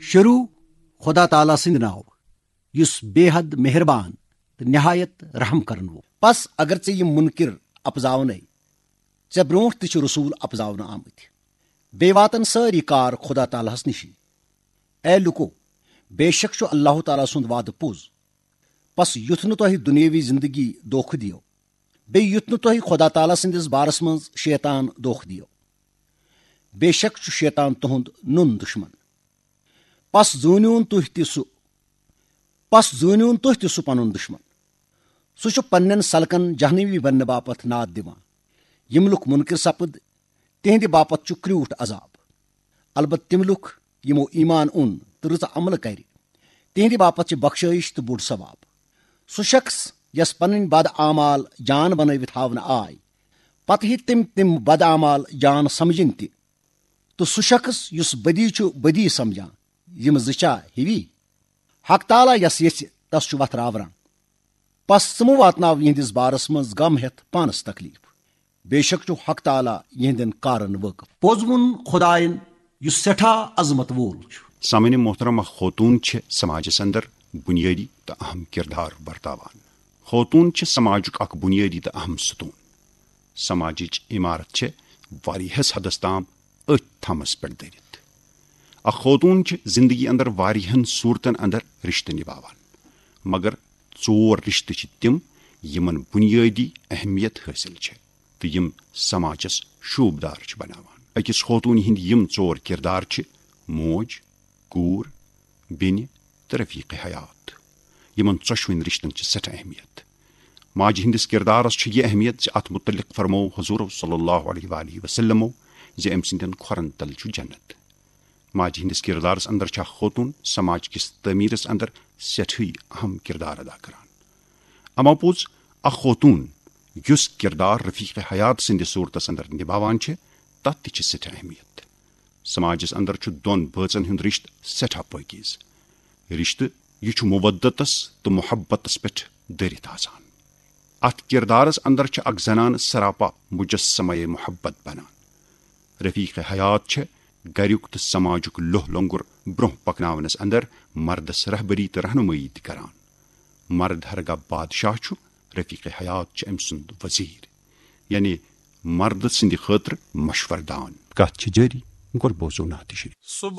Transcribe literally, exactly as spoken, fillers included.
شروع خدا تعالیٰ سٕنٛدِ ناوٕ، یُس بے حد مہربان تہٕ نہایت رحم کرن وول۔ پس اگر ژےٚ یِم منکر اپزاونے، ژےٚ برونٛٹھ تہِ چھِ رسول اپزاونہٕ آمٕتۍ۔ بیٚیہِ واتن سٲری کار خدا تعالیٰ ہس نِشی۔ اے لوٗکو، بے شک چھُ اللہ تعالیٰ سُنٛد وعدٕ پوٚز۔ پس یُتھ نہٕ تۄہہِ دُنیٲوی زندگی دھوکہٕ دِیو، بیٚیہِ یُتھ نہٕ تۄہہِ خدا تعالیٰ سٕنٛدِس بارس منٛز شیطان دھوکہٕ دِیو۔ بے شک چھُ شیطان تُہُنٛد نُن دُشمن۔ پس زوٗنِوُن تُہۍ تہِ سُہ، پس زوٗنِوُن تُہۍ تہِ سُہ پنُن دُشمن۔ سُہ چھُ پننٮ۪ن سلکن جہنمی بننہٕ باپتھ ناد دِوان۔ یِم لُکھ منکر سپٕد، تِہنٛدِ باپتھ چھُ کرٛوٗٹھ عذاب۔ البتہ تِم لُکھ، یِمو ایمان اوٚن تہٕ رٕژ عملہٕ کرِ، تِہنٛدِ باپتھ چھِ بخشٲیِش تہٕ بوٚڑ ثواب۔ سُہ شخص یس پنٕنۍ بد اعمال جان بنٲوِتھ ہاونہٕ آے، پتہٕ ہیٚتۍ تِم تِم بد اعمال جان سمجھِنۍ تہِ۔ تہٕ سُہ شخص یُس بدی چھُ بدی سمجھان، یِم زٕ چھا ہِوی؟ حق تعالیٰ یس یژھِ، تس چھُ وتھ راوران۔ پس ژٕ مہٕ واتناو یِہنٛدِس بارس منٛز غم ہٮ۪تھ پانس تکلیف۔ بے شک چھُ حق تعالیٰ یِہنٛدٮ۪ن کارن وٲقف۔ پوٚز ووٚن خداین، یُس سٮ۪ٹھاہ عظمت وول چھُ۔ سامعین محترم، اکھ خوتون چھِ سماجس اندر بنیٲدی تہٕ اہم کردار ورتاوان۔ خوتون چھِ سماجُک اکھ بنیٲدی تہٕ اہم ستون۔ سماجٕچ عمارت چھِ واریاہس حدس تام أتھۍ تھمس پٮ۪ٹھ دٔرِتھ۔ اکھ خوتون چھِ زندگی اندر واریاہن صورتن اندر رشتہٕ نباوان، مگر ژور رشتہٕ چھِ تِم، یِمن بنیٲدی اہمیت حٲصِل چھِ تہٕ یِم سماجس شوٗبدار چھِ بناوان۔ أکِس خوتوٗنہِ ہٕنٛدۍ یِم ژور کردار چھِ: موج، کوٗر، بیٚنہِ تہٕ رفیق حیات۔ یِمن ژۄشوٕنۍ رشتن چھِ سٮ۪ٹھاہ اہمیت۔ ماجہِ ہٕنٛدِس کردارس چھِ یہِ اہمیت زِ اتھ متعلق فرموو حضور صلی اللہ علیہ وآلہ وسلمو زِ أمۍ سٕنٛدٮ۪ن کھۄرن تل چھُ جنت۔ ماجہِ ہٕنٛدِس کردارس اندر چھِ اکھ خوتون سماج کِس تعمیرس اندر سٮ۪ٹھٕے اہم کردار ادا کران۔ اما پوٚز، اکھ خوتون یُس کردار رفیق حیات سٕنٛدِس صورتس اندر نباوان چھِ، تتھ تہِ چھِ سٮ۪ٹھاہ اہمیت۔ سماجس اندر چھُ دۄن بٲژن ہُنٛد رشتہٕ سٮ۪ٹھاہ پٲکیز۔ رشتہٕ یہِ چھُ مودتس تہٕ محبتس پٮ۪ٹھ دٔرِتھ آسان۔ اتھ کردارس اندر چھِ اکھ زنان سراپا مجسمہ محبت بنان۔ رفیق حیات چھِ گریُک تہٕ سماجُک لوہ لنگر برونٛہہ پکناونس اندر مردس رہبری تہٕ رہنمٲیی تہِ کران۔ مرد ہرگاہ بادشاہ چھُ، رفیق حیات چھِ أمۍ سُنٛد وزیر، یعنی مرد سٕنٛدِ خٲطرٕ مشورٕ دان۔ کتھ چھِ جٲری، گۄڈٕ بوزو نعت شریف۔